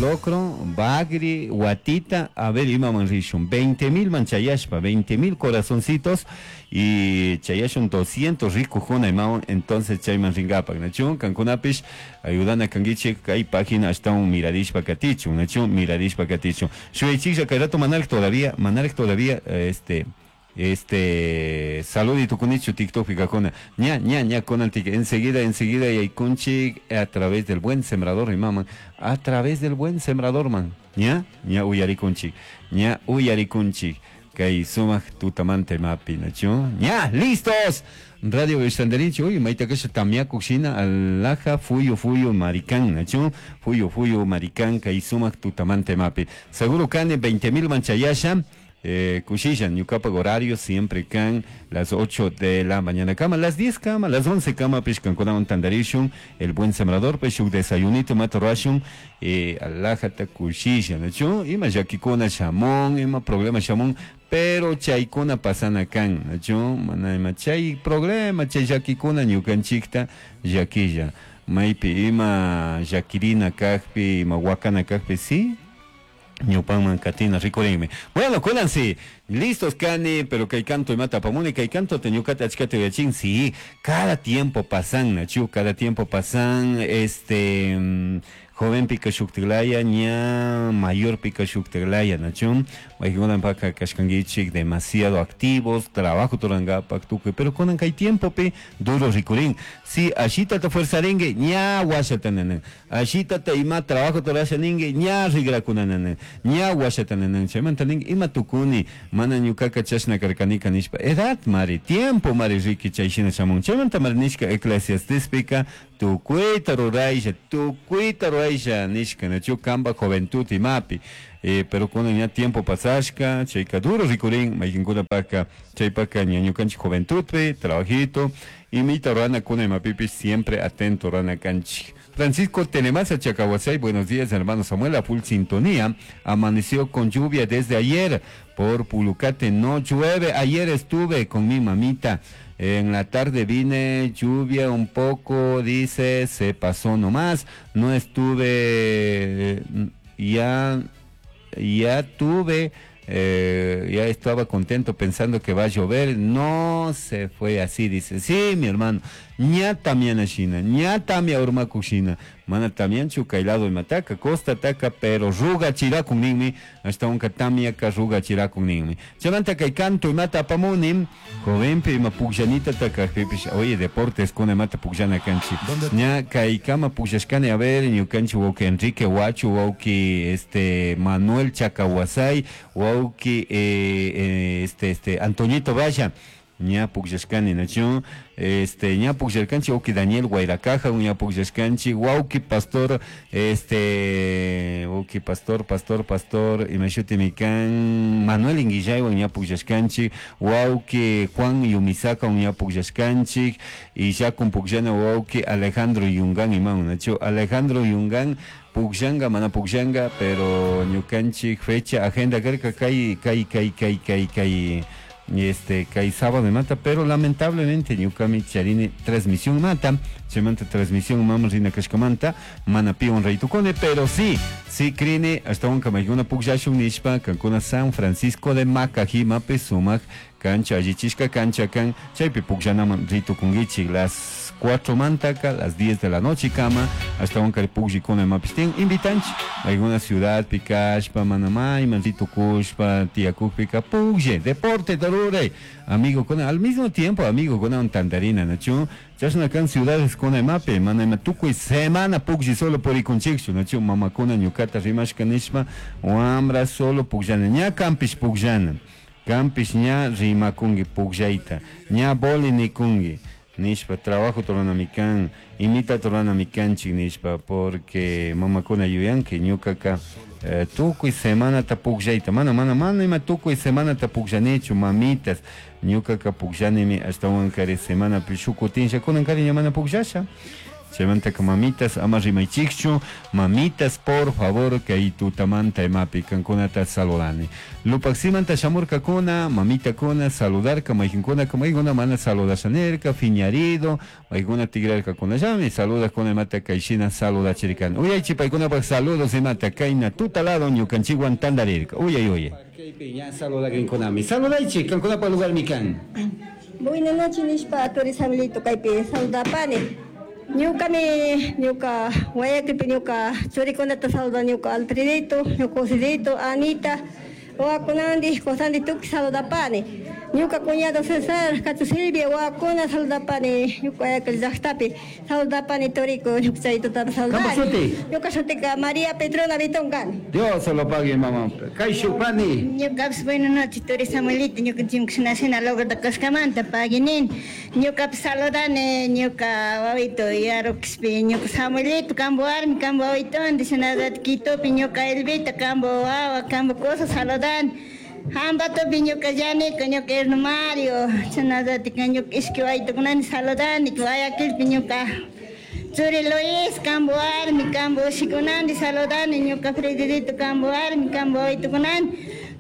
Locro, bagri, watita, a ver imaman rishun, 20,000 man chayashpa, 20,000 corazoncitos y chayashun 200 rikujuna imawan, entonces chayman ringapak, nachu? Kankunapish ayudana kanguichik kay página ashtawan mirarishpa katichun, nachu? Mirarishpa katichun. Shuyaychiklla kay rato manaraj todavía, saludito kunichu TikTokpi kakuna. Ña, ña, ña, kunantik, enseguida, enseguida yaykunchik a través del buen sembrador imaman, a través del buen sembrador man. Ña, ña uyarikunchik, ña uyarikunchik. Kay sumak tutamanta imapi, nachu? Ña, listos. Radio Estandarinchi, uy, mayta kasha tamyakuq shina, alaja, fuyu, fuyu, maricán, nachu? Fuyu, fuyu, maricán, kay sumak tutamanta imapi. Seguro kani 20,000 man chayasha. Kushisha, ñukapak horario siempre kan las 8 de la mañana kama, las 10 kama, las 11 kama, pishkankunawan tandarishun, el buen sembrador, pues, shuk desayunito matorashun, alajata kushisha, nachu? Ima llakikuna shamun, ima problema shamun, pero chaykuna pasana kan, nachu? Mana ima chay problema, chay llakikuna ñukanchikta llakilla. Maypi ima llakirina kakpi, ima wakana kakpi, sí, ñupanman katina rikurinmi. Bueno, kunan sí, listos kani, pero kay canto imata apamuni, kay canto te ñukata achkata yachin, sí, cada tiempo pasan, nachu, cada tiempo pasan, joven pika shuktiglaya, ña mayor pika shuktiglaya, nachu, maykunan paka kashkanguichik demasiado activos, trabajo turangapak tukuy, pero kunan kay tiempo pi duro rikurin, sí, ashita te fuerzaringue, ña washata nanan, ashita te ima trabajo turasha ningue, ña rigra nanan, ña washata nanan, chaymanta ningue, ima tukuni, mana ñukaka chashna karkanika nishpa, edad mari, tiempo mari riki chayshina shamun, chaymanta mari nishka Eclesiastespika, tukuyta ruraysha, tukuyta ruraysha nishka, nachu kamba juventud imapi, pero kunan ña tiempo pasashka, chayka duro rikurin, maykinkuna paka, chaypaka ña ñukanchik juventudpi, trabajito, imita rurana kuna imapipis siempre atento rurana kanchik. Francisco Tenemasa Chacahuasay, buenos días hermano Samuel, a full sintonía, amaneció con lluvia desde ayer, por Pulucate no llueve, ayer estuve con mi mamita, en la tarde vine, lluvia un poco, dice, se pasó nomás, no estuve, ya, ya tuve, ya estaba contento pensando que va a llover, no se fue así, dice, sí, mi hermano, ña también ashina, ña tamia urmakushina, mana también chukailado y mataca, costa taca, pero ruga chirakun ninmi, hasta un tamia ka ruga chirakun ninmi. Chamanta kay canto y mata pamunim, jovenpi ima pugllanita taka, pipish, oye, deportes con mata pugllana canchi. ¿Dónde? Ña kay kama pugllashkani, a ver, ñukanchi wauki Enrique Huacho, wauki, Manuel Chacahuasay, wauki, Antoñito Valla. Ña pugllashkani, nachu, ña pugllarkanchi, wauki Daniel Guairacaja, ña pugllarkanchi, wauki Pastor, wauki Pastor, Pastor, Pastor, imashuti mikan, Manuel Inguillaywan ña pugllashkanchi, wauki Juan Yumisaka, ña pugllashkanchi, y ya con pugllana wauki Alejandro Yungán, imán, nachu, Alejandro Yungán, pugllanga, mana pugllanga, pero ñukanchi fecha, agenda, karka, kay, kay, kay, kay, kay, kay, kay sábado mata, pero lamentablemente ñukami charini transmisión mata, chaymanta transmisión mama rina kashkamanta, mana piwan raytukuni, pero sí, sí crine, hasta un kamaykuna pugllashun nishpa, kankuna San Francisco de Macajimapi sumak cancha, allichishka cancha kan, chaypi pugllanaman ritukunkichik, las 4 mantaka, las 10 de la noche kama, hasta un kari pugllikuna imapish invitanchik, alguna ciudad pikashpa, manamay, man ritukushpa, tiyakukpika, puglle, deporte, tarure, amigo con, al mismo tiempo, amigo con un tandarina, nachu, chashna kan ciudades con imapi, mana ima tukuy semana puglli solo purikunchikchu, nachu, mamakuna ñukata rimashka nishpa, wambra solo pugllana, ña kampish pugllana, kampish ña rimakunki pugllayta, ña boli nikunki, nishpa, trabajo turanamikan, imita turanamikanchik nishpa, porque mamakuna yuyanki ñukaka tukuy semanata pugllayta, mana, mana, mana ima tukuy semanata pugllanichu, mamitas, ñukaka pugllanimi ashtawankari semanapi shuk kutinlla, kunankari ña mana pugllasha. Chaymantaka mamitas ama rimaychikchu, mamitas por favor kay tutamanta imapi kankunata saludani. Lupaksimanta shamurkakuna, mamitakuna saludarka, mayqinkunaka maykuna mana saludasha nirka, fiñarido, maykuna tigrarkakunallami, saludakuna imata kayshina saludachirkani. Uyaychik paykunapak saludos imata kayna tutalado ñukanchikwan tantarirka. Uyay uyay. Kaypi ña saludakrinkunami. Saludaychik, kankunapak lugarmi kan. Buena noche nishpa turi Samuelito kaypi saludapani. Ñukami ñuka Guayaquilpi ñuka churikunata saludani ñuka Alfredito, ñuka Joselito, Anita, wawakunandi, kusandi tukuy saludapani. Ñuka cuñado Cesar, Cacho Silvia, wawakuna saludapani, ñuka Guayaquil llaktapi saludapani turiku, ñuka chay tutata Kampak saludani. shuti? Ñuka shutika María Petrona Vitón kani. Dios lo pague, mamá. Kayshu pani. Ñukapish buena noche turi Samuelito, ñukanchikmi shina logrota kashkamanta paguinin. Ñukapish saludani ñuka wawito Yarukishpi, ñuka Samuelito, kambo warmi, kambo wawitondi, shinallatak Quitopi ñuka Elvita, kambo wawa, kambo kusa saludani. Hambatopi ñuka Yaniko, ñuka Erno Mario, shinallatak ñuka ishki wawitokunani saludani, Guayaquilpi ñuka Churi Luis, kambo warmi, kambo ushikunandi saludani, ñuka Fredidito, kambo warmi, kambo wawitokunani,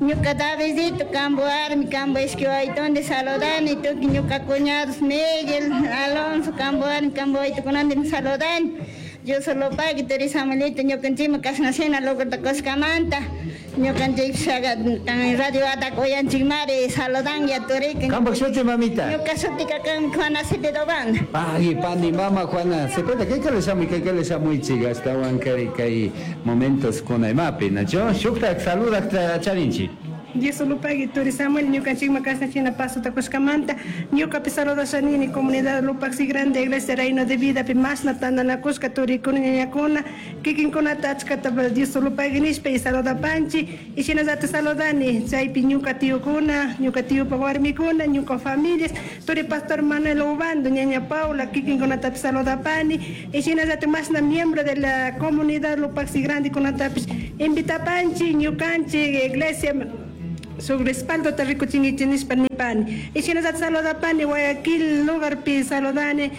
ñuka Davidito, kambo warmi, kambo ishki wawitondi saludani, tukuy ñuka cuñados Miguel, Alonso, kambo warmi, kambo wawitokunandi saludani. Dios lo pague, turi Samuelito, ñukanchikmi kashna shina logrota kushkamanta, ñukanchik kan radio atak uyanchikmari saludan ya turika. Kampak shuti, mamita. Ñuka shutika kan Juana Cepeda Obanda. Pagui, pani, mama Juana Cepeda, ¿qué que le llamo? ¿Qué que le llamo? Hasta kay kay momentos con imapi, nacho? Shuktak saludak charinchi. Dios lo pague, turi Samuel, ñukanchikma kashna shina pasota kushkamanta, ñukapi saludashanini comunidad Lupaxi Grande Iglesia Reino de Vida pi mashna tandanakushka turikuna ñañakuna, kikinkunata achkata Dios lo pague nishpa y saludapanchi, y shinallata saludani, chaypi ñuka tiyukuna, ñuka tiyupak warmikuna, ñuka familias, turi pastor Manuel Ubando, ñaña Paula, kikinkunatapi saludapani, y shinallata mashna miembro de la comunidad Lupaxi Grande kunatapish invitapanchi, ñukanchik iglesia su respaldo te rikuchingichi nishpa nipani. Y shinallata saludapani Guayaquil lugarpi saludani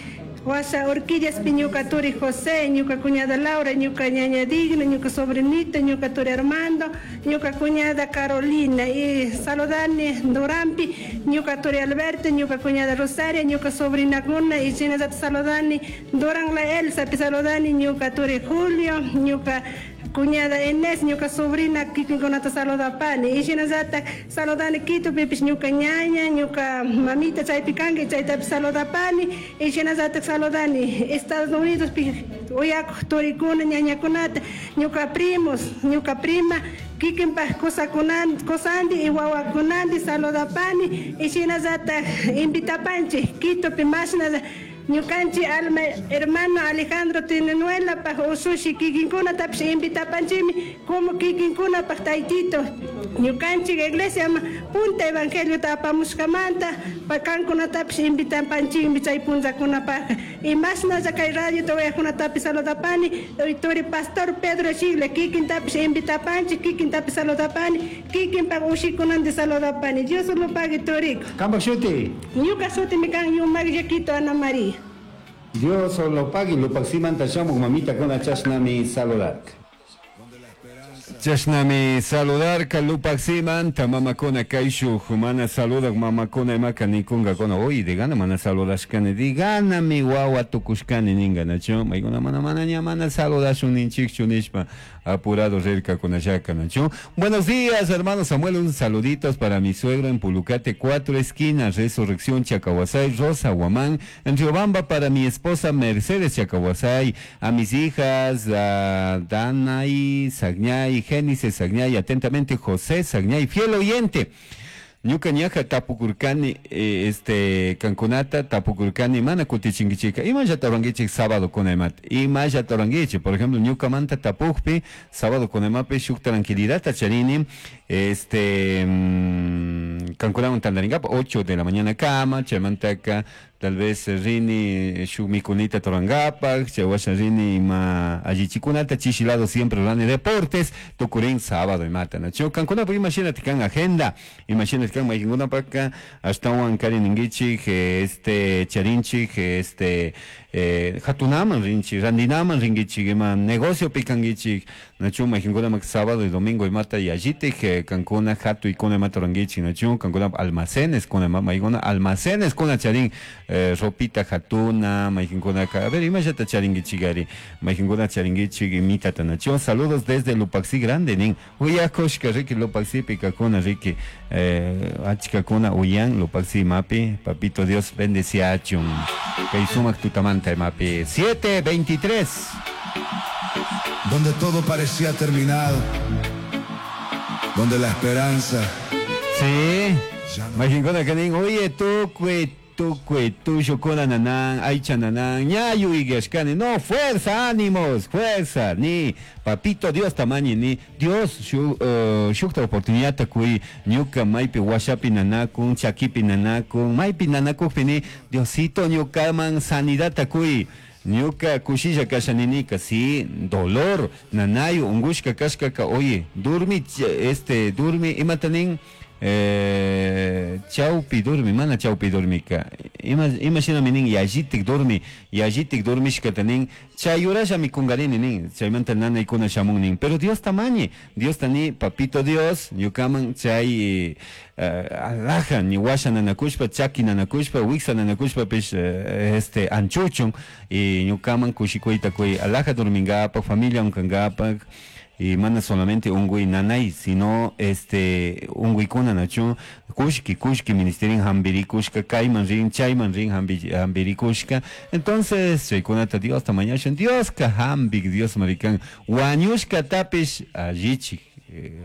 Washa Urquillas ñuka turi José, ñuka cuñada Laura, ñuka ñaña Digna, ñuka sobrinita, ñuka turi Armando, ñuka cuñada Carolina. Y saludani Durampi, ñuka turi Alberto, ñuka cuñada Rosaria, ñuka sobrina Guna, y shinallata saludani Duran la Elsa, saludani ñuka turi Julio, ñuka cuñada Inés, ñuka sobrina kikinkunata saludapani. Y shinallata saludani Quitopipish ñuka ñaña, ñuka mamita chaypi kanki, chaytapish saludapani. Y shinallata saludani Estados Unidos pi uyakuq turikuna, ñañakunata, ñuka primos, ñuka prima, kikinpak kusandi y wawakunandi saludapani. Y shinallata invitapanchik Quitopi mashna ñukanchik alma hermano Alejandro Tinenuelapaj usushi kikinkunatapish invitapanchikmi como kikinkunapaj taytito ñukanchik iglesia punta evangeliota apamushkamanta kankunatapish invitapanchikmi chay punllakunapajka. Y mashnalla kay radiota uyakunatapish saludapani turi pastor Pedro Chigle kikintapish invitapanchik kikintapish saludapani kikinpak ushikunandi saludapani. Dios lo pague turiko. Kampak shuti. Ñuka shutimi kan Yumak Yaquito Ana María. Dios lo pague, Lupaximanta shamuk mamita kuna chashnami saludar. Chashnami saludarka Lupaximanta mamakuna kayshuj mana saludak mamakuna imaka nikunkakuna uy digana mana saludashkani diganami wawa tukushkani ninga nachu maykuna mana mana ña mana saludashun ninchikchu nishpa apurado rirkakunallaka nachu. Buenos días hermano Samuel, un saluditos para mi suegro en Pulucate 4 esquinas, Resurrección Chacahuasay, Rosa Guamán, en Riobamba para mi esposa Mercedes Chacahuasay, a mis hijas a Danay Sagñay, Génesis Sagñay, atentamente José Sagñay, fiel oyente. Ñuka ñaja tapukurkani kankunata tapukurkani mana kutichinkichika imallata rurankichik sábado kunaymat imallata rurankichik por ejemplo ñukamanta tapukpi sábado kunaymapi shuk tranquilidadta charini kankunawan tantarinkapa 8 de la mañana kama chaymantaka Tal vez rini shuk mikunita turangapak, chay washa rini ima allichikunata chishilado siempre rani deportes, tukurin sábado imata, nachu? Kankunapak imashinati kan agenda, imashinati kan mayqinkunapaka ashtawan kari ninkichik, este charinchik, este hatunaman rinchik, randinaman rinkichik, ima negociopi kankichik, nachu? Mayqinkunamak sábado y domingo imata yallitik kankuna hatuykuna imata rurankichik, nachu? Kankuna almacenes kuna, maykuna almacenes kuna charin ropita hatuna, mayqinkunaka, a ver, imallata charinkichik ari, mayqinkuna charinkichik imitata, nachu? Saludos desde Lupaxi Grande, nin, uyakushka riki Lupaxipi kakuna riki, achkakuna uyan Lupaxi mapi, papito Dios bendeciachun. Kay sumak tutamanta mapi, 7:23. Donde todo parecía terminado, donde la esperanza. Sí, mayqinkuna kanin, oye, tukuy, tukuy, tullukuna nanan, aycha nanan, ñayu igashkani, no, fuerza, ánimos, fuerza, ni, papito Dios tamañi, ni, Dios, shukta oportunidad kui, ñuka maypi washapi nanakun, chakipi nanakun, maypi nanakukpi ni, Diosito ñukaman sanidad kui, ñuka kushilla kasha ninika, sí, dolor, nanayu, ungushka kashkaka, oye, durmi, este, durmi, imatanin, chaupi durmi, mana chaupi durmika, ima shinami nin, yallitik durmi, yallitik durmishkata nin, chayuralla mikungarini nin, chaymanta nanaykuna shamun nin, pero Dios tamañi, Dios tani, papito Dios, ñukaman chay alaja, ni washa nanakushpa, chaki nanakushpa, wiksa nanakushpa, pish, este, anchuchun, y ñukaman kushikuyta kuy, alaja durmingapak, familia unkangapak, y mana solamente ungui nanay, sino este unguikuna nachu, kushki, kushki ministerin hambirikushka, kayman rin, chayman rin hambirikushka. Entonces, chaykunata Dios tamañashun, Dios ka hambik, Dios marikan, wañushka tapish allichik,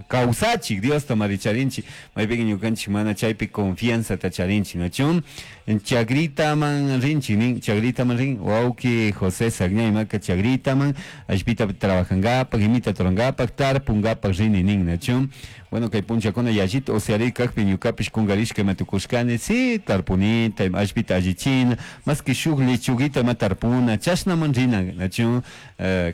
kawsachik, Dios tamaricharinchi, maypin ñukanchik mana chaypi confianza tacharinchi, nachun, chagritaman rinchi, nin, chagritaman rin, wawki José Sagñay maka chagritaman, allpita trabajangapak, imita turangapak, tarpungapak rini nin, nachun. Bueno, kay punchakuna yallita usyari kakpi ñukapish kungarishka ima tukushkani, sí, tarpunita, allpita allichina, más que shuk lechuguita ima tarpuna, chashnaman rina, nachun,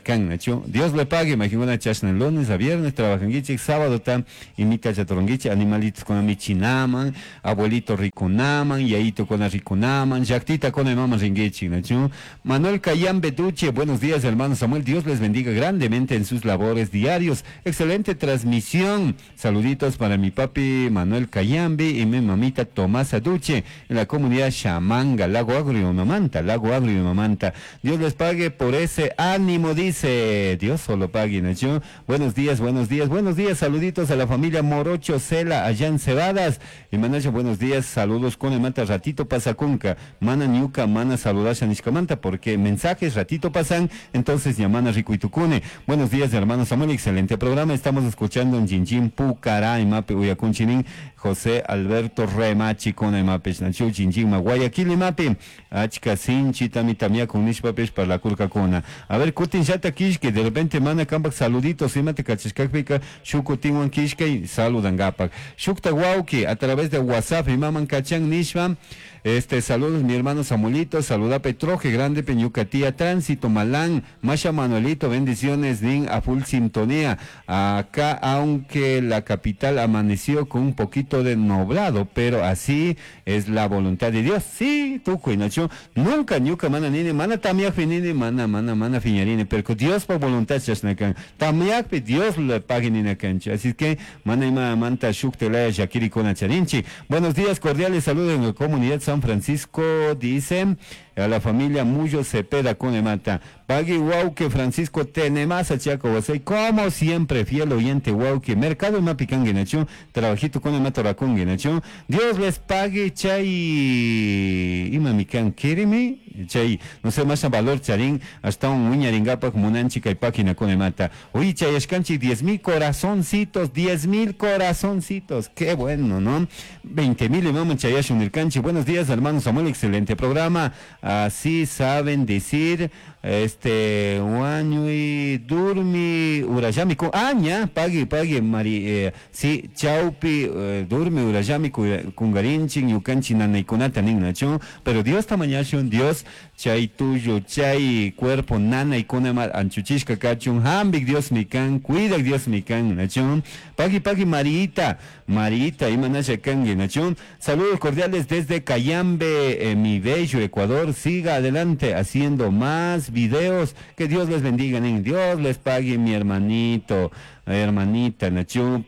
kan, nachun. Dios le pague, imagina chashna lunes a viernes trabajanguichik, sábado tam imita chaturunguichik, animalitos con michinaman, abuelito ricunaman, yayito con ricunaman, llaktita con imama ringuichik, nachun. Manuel Cayambe Duche, buenos días hermano Samuel, Dios les bendiga grandemente en sus labores diarios, excelente transmisión. Saluditos para mi papi Manuel Cayambe y mi mamita Tomasa Duche en la comunidad Chamanga, Lago Agrio, Mamanta, Lago Agrio, Mamanta. Dios les pague por ese ánimo, dice. Dios solo pague, Nacho. Buenos días, buenos días, buenos días. Saluditos a la familia Morocho Cela, allá en Cebadas. Y Manacho, buenos días, saludos con el manta ratito pasacunca. Mana ñuca, mana saludasha nishkamanta, porque mensajes ratito pasan, entonces yamana ricuitucune. Buenos días, hermano Samuel, excelente programa. Estamos escuchando en Jinjin Pucará, Imape Uyakunchinin, José Alberto Remachi con Imape, Nacho Jinjin Guayaquil Imape, Achka Sinchi Tami Tamia con Nishpapesh para la Curcacona. A ver, Kutin Yata Kishke, de repente mana kampak saluditos, imate kachishkakpika, Shukutinwan Kishke y saludangapak. Shukta Wauki, a través de WhatsApp, Imaman Kachan Nishma, este, saludos mi hermano Samuelito, saluda Petroje Grande, Peñucatía, Tránsito, Malán, Masha Manuelito, bendiciones, Nin, a full sintonía. Acá, aunque la capital amaneció con un poquito de nublado, pero así es la voluntad de Dios. Sí, tú, Nacho, nunca, ñuka, mana, nini, mana, tamiakpi, nini, mana, mana, mana, fiñarine, pero Dios por voluntad, chasnakan, tamiakpi, Dios le pague nina cancha. Así que, mana, ima, manta, shuktelaya, shakiri, kona, charinchi. Buenos días, cordiales saludos en la comunidad San Francisco, dice a la familia Muyo Cepeda con Emata. Pagui Wauke Francisco Tenemasa Chaco José, como siempre, fiel oyente Wauke, Mercado Mapicangue Nacho, trabajito con Emata Racungue Nacho. Dios les pague chay imamican quéreme, chay, no sé más valor charín, hasta un uñaringapa como unanchica y página con Emata. Uy, chay escanchi, 10,000 corazoncitos, 10,000 corazoncitos, qué bueno, ¿no? 20,000 y vamos chayash unircanchi. Buenos días, hermano Samuel, excelente programa. Así saben decir, wañuy, durmi, urayami, ña, pagui, pagui, mari, sí, chaupi, durmi, urayami, kungarinchi, ñukanchi, nanaykunata nin, nachu, pero Dios tamañashun, Dios, chay tuyo, chay cuerpo, nanaykuna, anchuchishka kachun, hambik Dios mi kan, cuidak Dios mi kan, nachu, pagui, pagui, Marita, Marita, imanasha kangi, nachu, saludos cordiales desde Cayambe, mi bello Ecuador, siga adelante haciendo más videos, que Dios les bendiga, Dios les pague, mi hermanito, hermanita, Nachu,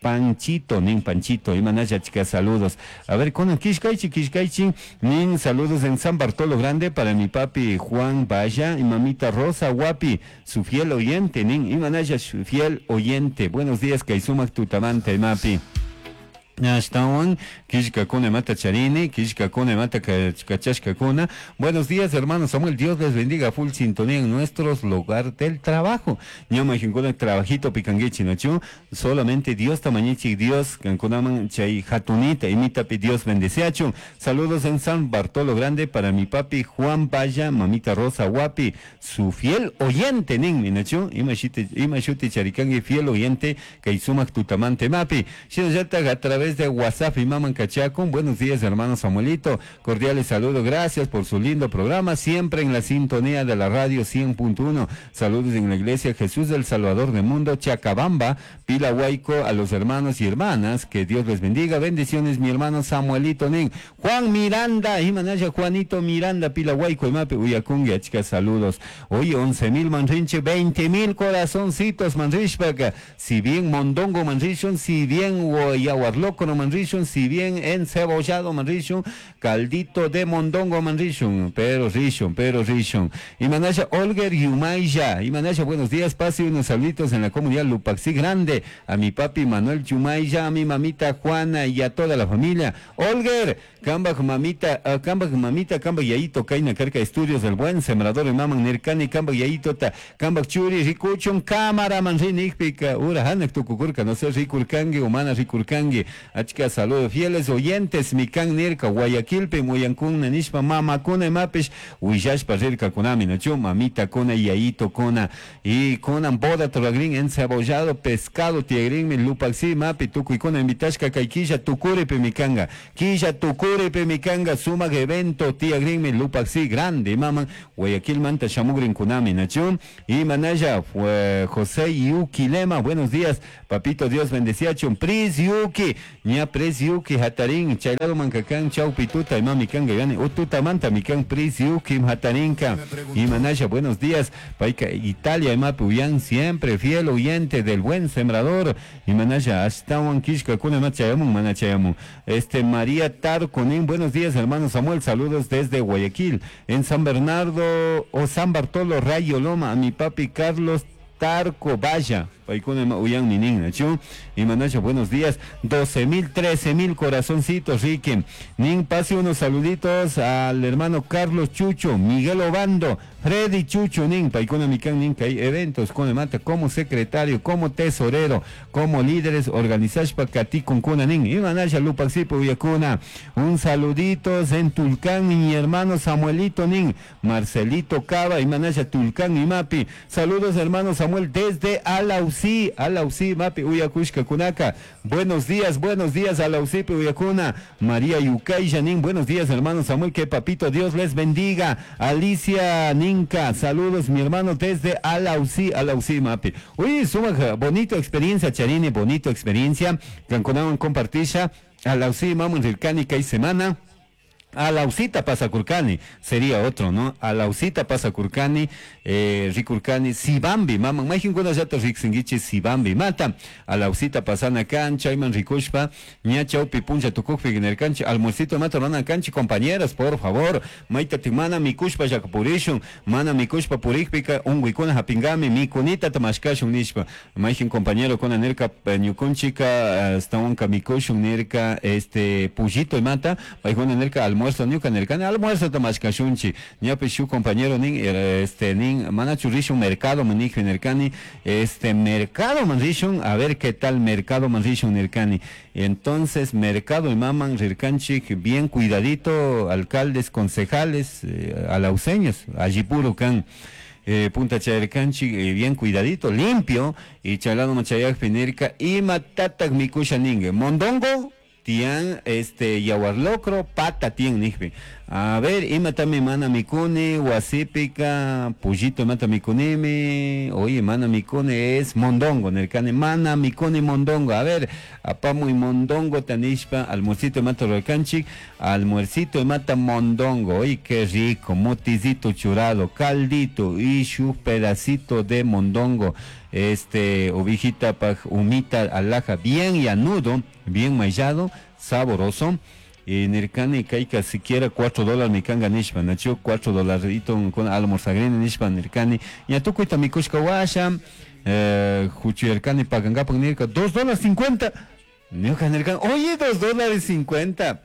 Panchito, nin Panchito, imanasha chica, saludos. A ver, con Kishkaichi, Kishkaichi, nin saludos en San Bartolo Grande para mi papi Juan Valla y mamita Rosa Guapi, su fiel oyente, nin imanasha, su fiel oyente. Buenos días, Kaisumak Tutamante, mapi. Ashtawan, Kishkakuna mata charini, Kishkakuna mata kachashkakuna. Buenos días, hermano Samuel. Dios les bendiga. Full sintonía en nuestros lugar del trabajo. Ñama jinkuna trabajito picanguichi, nachu. Solamente Dios tamañichi, Dios kankunaman chay hatunita, imitapi Dios bendeceachu. Saludos en San Bartolo Grande para mi papi Juan Valla, mamita Rosa Guapi, su fiel oyente, nin, nachu. Ima shuti charikangi, fiel oyente, kaisumak tutamante mapi. Shinallata a través de WhatsApp y Maman Cachacón. Buenos días, hermano Samuelito. Cordiales saludos. Gracias por su lindo programa. Siempre en la sintonía de la radio 100.1. Saludos en la iglesia Jesús del Salvador del Mundo, Chacabamba, Pilahuayco, a los hermanos y hermanas. Que Dios les bendiga. Bendiciones, mi hermano Samuelito Nin. Juan Miranda, Imanaya Juanito Miranda, Pilahuayco, Imape, Uyacungue, chicas, saludos. Hoy 11,000 manrinche, 20,000 corazoncitos manrishpaca. Si bien mondongo manrishun, si bien yaguarloco no manrishun, si bien encebollado manrishun, caldito de mondongo manrishun, pero rishun, pero rishun. Y manasha Olger Yumaya, y manasha, buenos días, pase unos saluditos en la comunidad Lupaxi Grande, a mi papi Manuel Yumaya, a mi mamita Juana y a toda la familia. Olger, Kambaj mamita, Kambaj mamita, Kambaj yayito, Kaina Carca Estudios del Buen Sembrador y Maman Nirkani, Kambaj yayito, ta, Kambaj churi, rikuchun, cámara, manrin, ikpika, ura, hanak tukukurka, no sé, rikurkangi, humana rikurkangi. Achka saludos, fieles oyentes, mikan nirka, Guayaquilpe, Muyankun, nanishpa, mama kuna, mapish, huillashpa, rirka kunami, nachu, mamita kuna, yayito kuna, y kunan boda, toragrin, encebollado, pescado, tiegrin, mi lupaxi, mapi, tukuy kuna, invitashka, kaikilla, tukuripe, mikanga, quilla, tukuripe, mikanga, sumag evento, tiagrin, mi lupaxi, grande, maman, Guayaquil, manta, shamugrin, kunami, nachu, y manaya, fue José Yuki Lema, buenos días, papito, Dios bendeciachun, Pris Yuki, ña Pris Yuki, Hatarín, Chaylado Mancacán, Chau Pituta, y mami kanga, gane, Ututa Manta, mikan Pris Yuki, Hatarinka, y manaya, buenos días, Paika, Italia, y mapi, uyan, siempre fiel oyente del buen sembrador, y manaya, hasta Kishka, kuna machayamun, manachayamun, María Tarconín, buenos días, hermano Samuel, saludos desde Guayaquil, en San Bernardo, o San Bartolo, Rayo Loma, a mi papi Carlos Tarco Valla, Paikuna uyan minin, nachu, y manacha, buenos días, 12,000, 13,000 corazoncitos, Ricky. Nin, pase unos saluditos al hermano Carlos Chucho, Miguel Obando, Freddy Chucho, nin, Paikuna mikan, nin, que hay eventos con el mata, como secretario, como tesorero, como líderes, organizashpa katikun kuna, nin, y manacha, lupaxipo, uyakuna, un saluditos en Tulcán, mi hermano Samuelito, nin, Marcelito Cava, y manacha, Tulcán y Mapi, saludos hermano Samuel desde Alausí, Alausí, Mapi, Uyakushka, Kunaka. Buenos días, Alausipe, Uyakuna. María Yucay, Janín, buenos días, hermano Samuel, que papito Dios les bendiga. Alicia Ninka, saludos, mi hermano, desde Alausí, Alausí, Mapi. Uy, suma, bonito experiencia, Charini, bonito experiencia. Canconaban compartisha, Alausí, mamun, Rilcani, y semana. Alausita Pasacurcani, sería otro, ¿no? Alausita Pasacurcani, Ricurcani, Sibambi, mama, majinkuna llata riksingichi Sibambi, mata, Alausita pasana cancha, Iman Ricushpa, ña chaupi puncha tukukpi genercanchi, almuercito mata rana canchi, compañeras, por favor, maita timana mikushpa yakapurishun, mana mikushpa purikpika, unguikuna hapingami, mikunita tamashkashun nishpa, majin compañero kuna nirka, ñukunchika, stawanka mikushun nirka, pullito y mata, paikuna nirka almuerzo. Almuerzo ñuka nirkani almuerzo mashkashunchik. Ñapish shuk compañero nin, este nin, manachu rishun mercado man nijpi nirkani, este mercado man rishun, a ver qué tal mercado man rishun nirkani. Entonces mercado imaman rirkanchik bien cuidadito, alcaldes, concejales, alauceños, allí puro kan. Punta chayarkanchik, bien cuidadito, limpio, y chalado machayakpi nirka, ima tatak mikusha ningue, mondongo, tian, este, yaguarlocro, pata tian nijpi. A ver, ima tami mana mikuni, wasipika, pollito mata mikunimi, oye, mana mikuni es mondongo, nirkani, mana mikuni mondongo, a ver, apamuy mondongo tanishpa, almuercito mata rurkanchik, almuercito mata mondongo, oye, qué rico, moticito churado, caldito, y su pedacito de mondongo, este, ovejita paj, humita, alhaja, bien llanudo, bien maillado, saboroso. Y nirkani kayka siquiera $4 mi kanga nishpa, nachu cuatro dolarito con almorzagrini nishpa nirkani, ña tukuyta mikushka washa, huchuyarkani pagangapak nirka, $2.50, ñuka nirkani, oye, $2.50,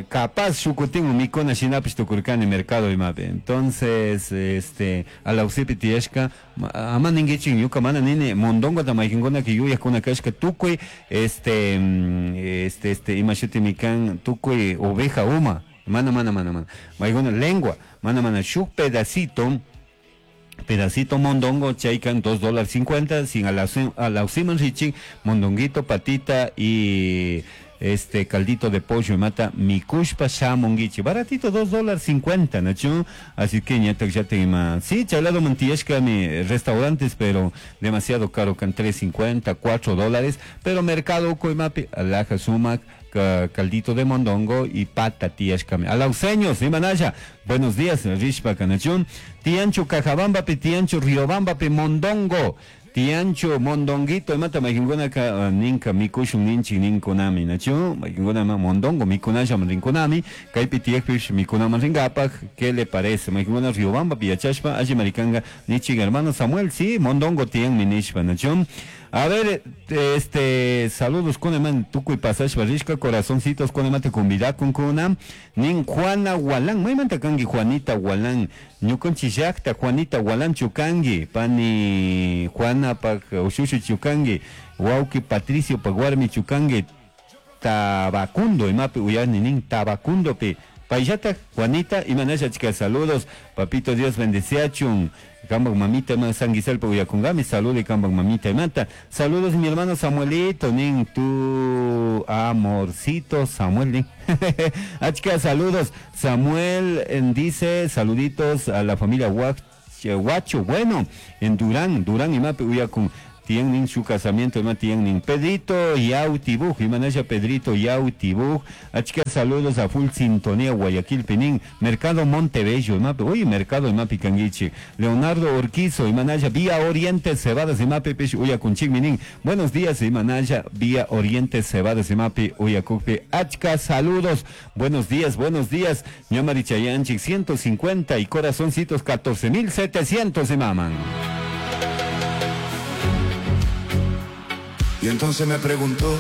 capaz shukutin mikuna shinapish tukurkani mercado imapi. Entonces, este, alausipi tiyashka, ama ninguichin ñuka mana nini mondongo ta maykinkuna ki yuyakuna kashka tukuy, este, este, este, ima shuti mikan tukuy oveja uma, mana, mana, mana, mana, maykuna lengua, mana, mana, shuk pedacito, pedacito mondongo, chaykan $2.50, sin alausiman richin, mondonguito, patita y este caldito de pollo y mata mikushpa shamunguichi, baratito $2.50, ¿no? Así que ñatak ya te ima. Sí, chalado mantillashka mi restaurantes, pero demasiado caro, can $3.50, $4, pero mercado coimapi, alaja sumac, caldito de mondongo y pata tiyashkami. Alauseños, imanaya, buenos días, rishpa kanachun, tiancho cajabamba pi, tiancho riobamba pi, mondongo. Tiancho, mondonguito, imata maykinguna ka ninka mikushun ninchi ninkunami, nachu, maykinguna ma mondongo mikunasha rinkunami, kaypi tiyakpish mikunaman ringapak, ¿qué le parece? Maykinguna Riobamba piyachashpa, alli maricanga nichi hermano Samuel, sí, mondongo tian minishpa, nachu. A ver, este, saludos con eman tukuy pasashpa rishka, corazoncitos con emate convidakun kuna, nin Juana Gualán, maymanta kangi Juanita Gualán, ñukanchi llakta Juanita Gualán chukangi, pani Juana pak ushushu chukangi, wauki Patricio pak warmi chukangi, Tabacundo, imapi uyani nin Tabacundo pi, payllata Juanita, imanasha chica, saludos, papito Dios bendeciachun, kambak mamita ma sanguisalpa uyakungami, saludos kambak mamita imanta, saludos mi hermano Samuelito, nin tu amorcito Samuel, nin. Achka, saludos, Samuel dice, saluditos a la familia Guacho, bueno, en Durán, Durán imapi uyakun, tienen su casamiento, ima tienen Pedrito Yautibuj, imanasha Pedrito Yautibuj, achka saludos a full sintonía Guayaquil Pinín, Mercado Montebello, imapi, uy, Mercado imapi kanguichi, Leonardo Urquizo, imanasha Vía Oriente Cebadas, imapi pish uyakunchik minin, buenos días, imanasha Vía Oriente Cebadas, imapi uyakukpi, achka saludos, buenos días, ñamari chayanchik, 150 y corazoncitos 14.700 imaman. Y entonces me preguntó,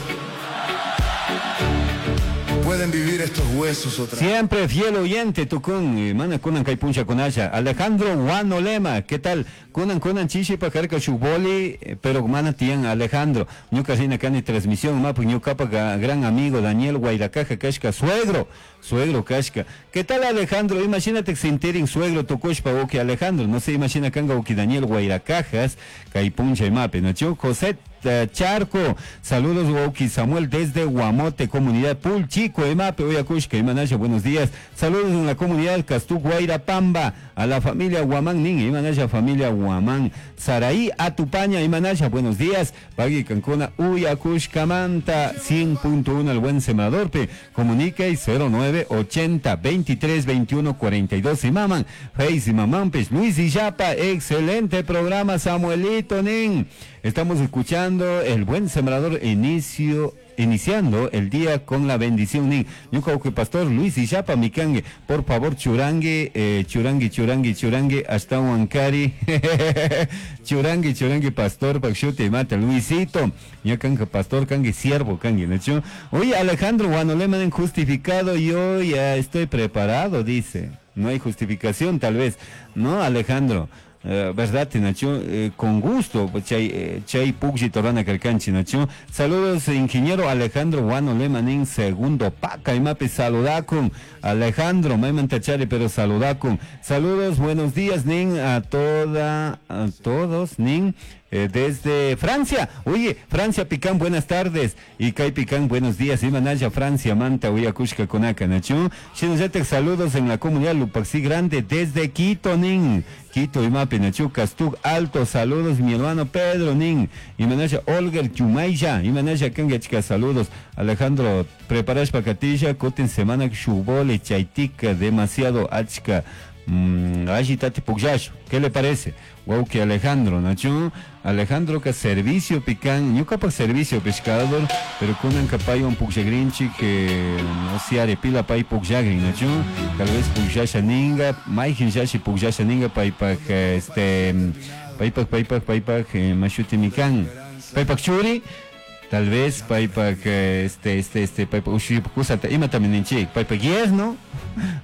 ¿pueden vivir estos huesos otra vez? Siempre fiel oyente, tucun, mana kunan kay puncha kunasha. Alejandro Guanolema, ¿qué tal? Kunan kunan chishi pajarka shuboli, pero mana tian Alejandro. Ñuka rina kani transmisión, mapu ñukapa gran amigo Daniel Guairacaja kashka, suegro, suegro kashka. ¿Qué tal Alejandro? Imagínate sintirin suegro tukushpa uki Alejandro, no se imagina kanga uki Daniel Guairacajas, kay puncha imapi, ¿no? José Charco, saludos Woki Samuel desde Guamote, comunidad Pulchico, Emape, Oyacushka, Imanasha, buenos días, saludos en la comunidad Castú, Guairapamba, a la familia Guamán, Nin, Imanasha, familia Guamán, Saraí, Atupaña, Imanasha, buenos días, Pagui Cancuna, Uyacushka, Manta, 100.1, el buen sembrador, pe, comunica y 09 80 23 21 42, y maman, Face y mamán, pues, Luis Illapa, excelente programa, Samuelito, Nin, estamos escuchando. Escuchando el buen sembrador iniciando el día con la bendición nin. Ñuka uke pastor Luis Illapa mikangue, por favor churangue, churangue, churangue, churangue, hasta Huancari. Churangue, churangue, pastor, pakshuti mata, Luisito. Ñakanka pastor, kangue siervo, kangue, ¿no? Oye, Alejandro Guanoleman justificado, yo ya estoy preparado, dice. No hay justificación, tal vez. No, Alejandro. Verdad, Nacho, con gusto, pues, chay, chay pugji torana calcanchi, Nacho. Saludos, ingeniero Alejandro Guano Lemanín, segundo paca, y mape saludacum. Alejandro, maiman tachari, pero saludacum. Saludos, buenos días, nin, a toda, a todos, nin. Desde Francia, oye, Francia Picán, buenas tardes, y Kai Picán, buenos días, y Manaya, Francia, Manta, Uyacushka, Konaka, Nacho, Shinoyatek, saludos en la comunidad Lupaxi Grande, desde Quito, nin, Quito, y Mape, Nacho, Castug, Alto, saludos, mi hermano Pedro, nin, y Manaya, Olger, Chumaya, y Manaya, Kanga, chica, saludos, Alejandro, preparash pacatilla, coten semana, Shubole, Chaitica, demasiado, achka, allí tati pugyash, ¿qué le parece? Wow, que Alejandro, Nacho, Alejandro que servicio pican, ñuka pa servicio pescador, pero con un capayo un pugyagrinchi que no se arepila pay pugyagrin, Nacho, tal vez pugyasha ninga, maijin yashi pugyasha ninga pay pa que este, pay pa, pay pa, pay pa, que mashuti mikan, pay pa churi, tal vez pay pa que este, este, este, pay pa ushi kusata, ima también ninchi, pay pa yerno,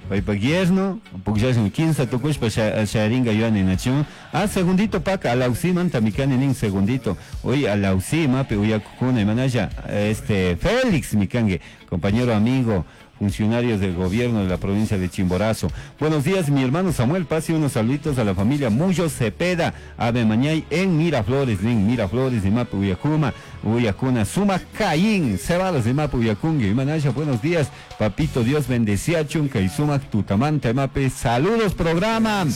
pay pa yerno, pugyasha quince tukush pa sharinga yuani, Nacho. Ah, segundito paca, alausi manta mikani nin segundito. Oye, alausi mape uyakukuna manaya, este, Félix mikangue, compañero amigo, funcionarios del gobierno de la provincia de Chimborazo. Buenos días, mi hermano Samuel, pase unos saluditos a la familia Muyo Cepeda, Ave Mañay en Miraflores, en Miraflores, de Mapu Uyacuma, Uyacuna, Suma Caín, Cebalos de Mapu Uyacungue, Manaya, buenos días, papito, Dios bendecía, Chunca y Suma Tutamanta, Mape, saludos, programa.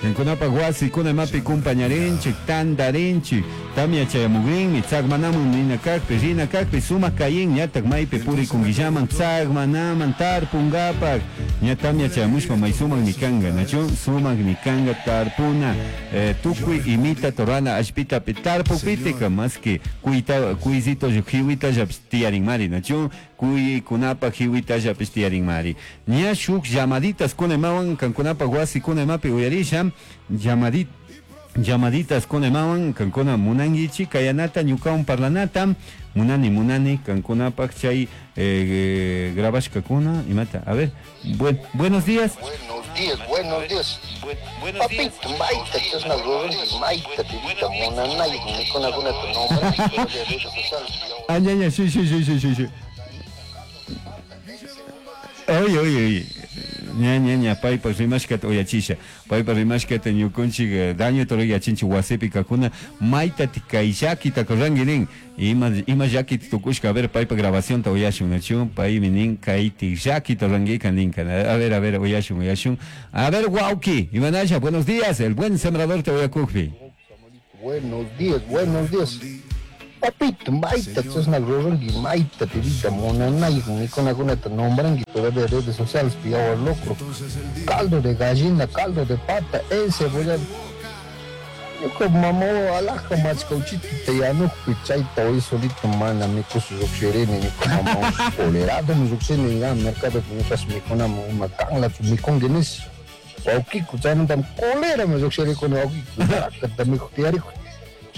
En Kunapa Huasi, Kunamapi, Cumpañarenchi, Tandarenchi, Tamia Chayamugrin, Itzagmanamun, Ninacacpe, Rinacacpe, Suma Caín, Ñatak Maipe, Puri Kunguillaman, Tzagmanaman, Tarpungapac, Ñatamia Chayamushpa, Maisuman, Nikanga, Nacho, Suman, Nikanga, Tarpuna, Tukui, Imita, Torana, Ashpita, Tarpupitica, más que Cuita, Cuisito, Jihuita, Yapstiarin Mari, Nacho, Cuy, Kunapa, Jihuita, Yapstiarin Mari. Ñashuk, llamaditas, Kunemawan, Cankunapa, Huasi, Kunemapi, Uyarisha, llamaditas kunemawan, kankuna munangichi, kayanata, ñukawan parlanata, munani, munani, kankunapaj chay, grabashkakuna, imata. A ver, buenos días. Buenos días, buenos días. Papito, maita, chasna rurunki, maita, tibita, munanay, mikunakuna tu nombre, Ah, ya, ya, sí, sí, sí, sí, sí, sí. Oye, oye, oye. Ña, ña, ña, paypa rimashkata uyachisha. Paypa rimashkata ñukunchik, daño toro yachinchik wasipi kakuna, mayta kay llakita kurranki nin. Ima, ima llakita tukushka, a ver, paypa grabación ta uyashun, nachu, paymi nin, kayti llakita rangika ninka. A ver, a ver, uyashun, uyashun. A ver, wauki, Imanasha, buenos días, el buen sembrador te uyakukpi. Buenos días, buenos días. Papito, maita, chasna rurunki, maita, tibita, munanay, mikunakuna ta nombranki, todavía redes sociales, pillado locro. Caldo de gallina, caldo de pata, encebollado. Yo como mamá, alaja, machcauchito, te yanuj, chayta, hoy solito, mana, mi coso, yo quiero, ni como mamá, colerado, mi yo quiero, ni ya, mercado, mi casa, mi cona, mi cangla, mi conguenes. Wauquico, chaynuntam colera, mi yo quiero, con wauquico, ta mi tiarico.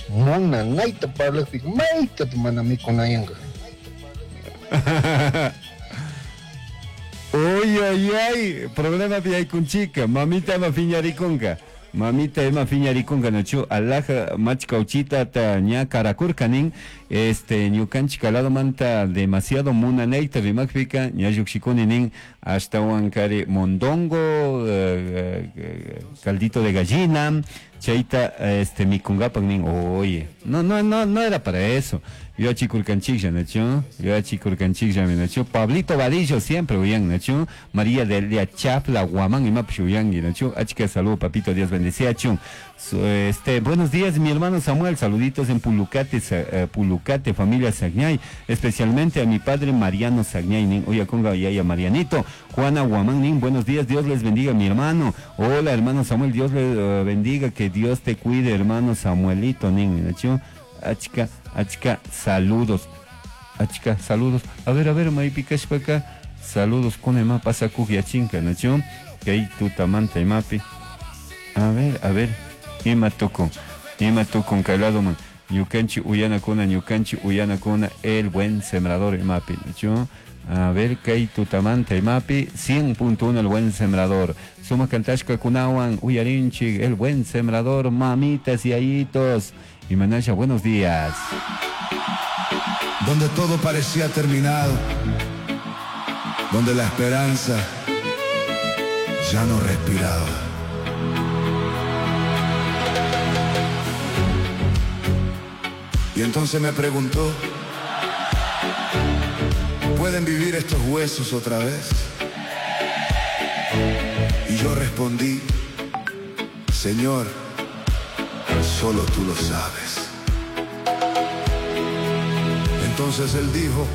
Mona, naita parlajpi, mayta mana mikunayanga. Uy, ay, ay, problema pi con chica, mamita ima fiñarikunka. Mamita ima fiñarikunka, nachu, alaja machkauchita ta ña karakurkanin, este, ñukanchik lado manta demasiado munanayta rimakpika, ña lluqshikuni nin, hasta huancari mondongo, caldito de gallina, chayta, este, mikungapak nin, oye, no, no, no, no era para eso. Yo achikurkanchiklla, nachu, yo achikurkanchiklla, nachu, Pablito Vadillo siempre uyan, nachu, María Delia Chapla, Guamán y Mapuche uyangi, nachu, achika saludo, papito, Dios bendice, achun. Este, buenos días, mi hermano Samuel, saluditos en Pulucate, Pulucate, familia Sagñay, especialmente a mi padre Mariano Sagñay, nin, oye, conga, yaya Marianito, Juana Guamán, nin, buenos días, Dios les bendiga, mi hermano. Hola, hermano Samuel, Dios le bendiga, que Dios te cuide, hermano Samuelito, nin, nachu. Achka, achka saludos. Achka saludos. A ver, a ver, maypi kashpaka saludos kuna ima pasakuj yachinka, nachu? Kay tutamanta imapi. A ver, a ver, ima tukun, ima tukun kay ladoman. Ñukanchik uyanakuna, ñukanchik uyanakuna, el buen sembrador imapi, nachu? A ver, kay tutamanta imapi, 100.1 el buen sembrador. Suma kantashka kunawan, uyarinchik, el buen sembrador, mamitas y ayitos. Y Manasha, buenos días. Donde todo parecía terminado, donde la esperanza ya no respiraba. Y entonces me preguntó, ¿pueden vivir estos huesos otra vez? Y yo respondí, Señor, solo tú lo sabes. Entonces él dijo,